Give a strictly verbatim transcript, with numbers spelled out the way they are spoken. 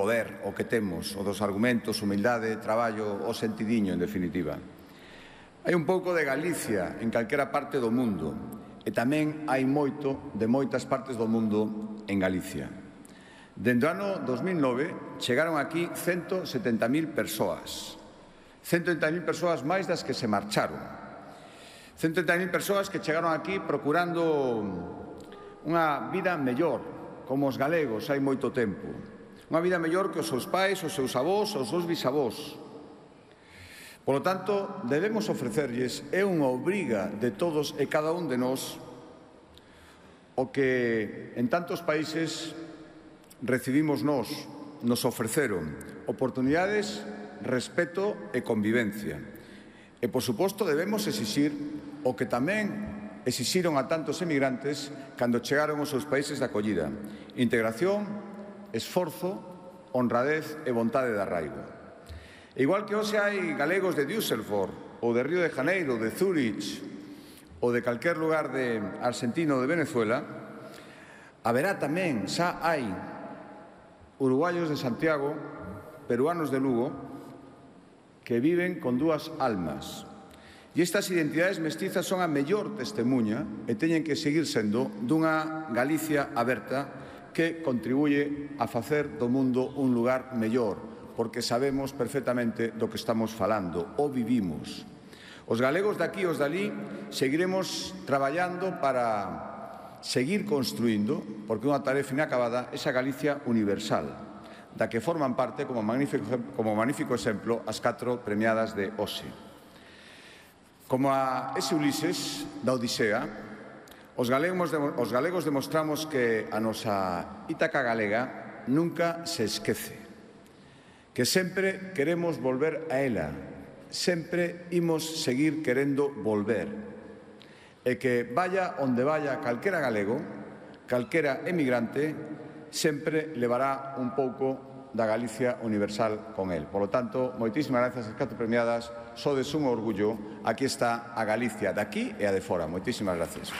poder o que temos, o dos argumentos, humildade, traballo, o sentidiño, en definitiva. Hai un pouco de Galicia en calquera parte do mundo e tamén hai moito de moitas partes do mundo en Galicia. Dende o ano dos mil nove chegaron aquí ciento setenta mil persoas. ciento setenta mil persoas máis das que se marcharon. ciento setenta mil persoas que chegaron aquí procurando unha vida mellor, como os galegos hai moito tempo. Unha vida mellor que os seus pais, os seus avós, os seus bisavós. Por lo tanto, debemos ofrecerlles, é unha obriga de todos e cada un de nós, o que en tantos países recibimos nós, nos ofreceron oportunidades, respeto e convivencia. E, por suposto, debemos exixir o que tamén exixiron a tantos emigrantes cando chegaron aos seus países de acollida: integración, esforzo, honradez e vontade de arraigo. Igual que hoxe hai galegos de Düsseldorf, ou de Río de Janeiro, de Zúrich, ou de calquer lugar de Argentina ou de Venezuela, haberá tamén, xa hai, uruguayos de Santiago, peruanos de Lugo, que viven con dúas almas. E estas identidades mestizas son a mellor testemunha e teñen que seguir sendo dunha Galicia aberta que contribuye a facer do mundo un lugar mellor, porque sabemos perfectamente do que estamos falando, o vivimos. Os galegos de aquí e os dali seguiremos traballando para seguir construindo, porque unha tarefa inacabada, esa Galicia universal, da que forman parte, como magnífico, como magnífico exemplo, as catro premiadas de hoxe. Como a ese Ulises da Odisea, os galegos, os galegos demostramos que a nosa Ítaca galega nunca se esquece, que sempre queremos volver a ela, sempre imos seguir querendo volver, e que vaya onde vaya calquera galego, calquera emigrante, sempre levará un pouco da Galicia universal con el. Por lo tanto, moitísimas gracias ás catro premiadas, sodes un orgullo, aquí está a Galicia de aquí e a de fora. Moitísimas gracias.